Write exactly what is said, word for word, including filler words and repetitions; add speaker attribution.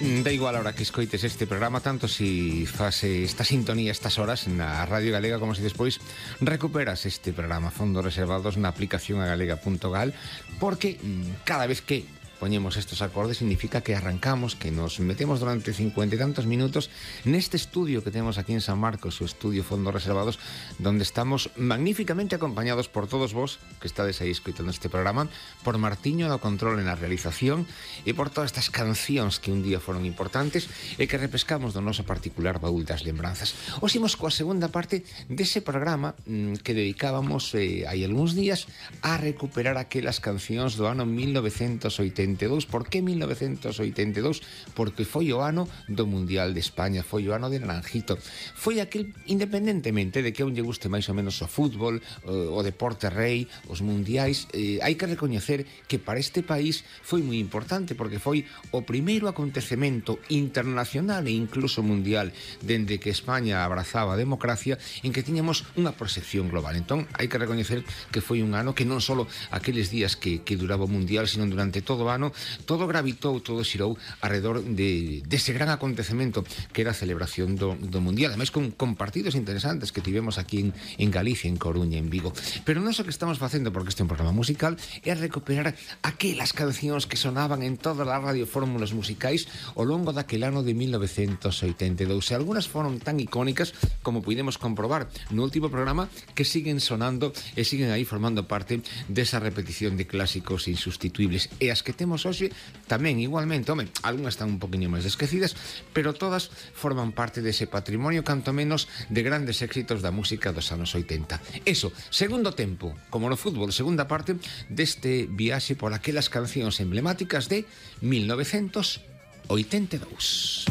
Speaker 1: Da igual a hora que escoites este programa, tanto si faz esta sintonía estas horas na Radio Galega como si despois recuperas este programa Fondos Reservados na aplicación a galega punto gal, porque cada vez que poñemos estos acordes significa que arrancamos, que nos metemos durante cincuenta e tantos minutos neste estudio que temos aquí en San Marcos, o estudio Fondos Reservados, donde estamos magníficamente acompañados por todos vos que estades aí escoitando este programa, por Martiño do control en a realización e por todas estas cancións que un día foron importantes e que repescamos do noso particular baúl das lembranzas. Os imos coa segunda parte dese programa mmm, que dedicábamos eh, hai algúns días a recuperar aquelas cancións do ano mil novecentos oitenta e dous. Por que mil novecentos oitenta e dous? Porque foi o ano do Mundial de España, foi o ano de Naranjito. Foi aquel, independentemente de que a un lle guste máis ou menos o fútbol, o, o deporte rei, os mundiais, eh, hai que recoñecer que para este país foi moi importante, porque foi o primeiro acontecemento internacional e incluso mundial dende que España abrazaba a democracia, en que tiñamos unha proxección global. Entón, hai que recoñecer que foi un ano que non só aqueles días que, que duraba o mundial, sino durante todo o ano todo gravitou, todo xirou alrededor de, dese gran acontecemento que era a celebración do, do Mundial, ademais con, con partidos interesantes que tivemos aquí en, en Galicia, en Coruña, en Vigo. Pero non só que estamos facendo, porque este é un programa musical, é recuperar aquelas cancións que sonaban en todas as radiofórmulas musicais ao longo daquel ano de mil novecentos oitenta e dous. E algunhas foron tan icónicas como pudemos comprobar no último programa, que siguen sonando e siguen aí formando parte desa repetición de clásicos insustituibles. E as que temos hoxe tamén igualmente, home, algunhas están un poquinho máis esquecidas, pero todas forman parte dese patrimonio canto menos de grandes éxitos da música dos anos oitenta. Eso, segundo tempo, como no fútbol, segunda parte deste viaxe por aquelas cancións emblemáticas de mil novecentos oitenta e dous.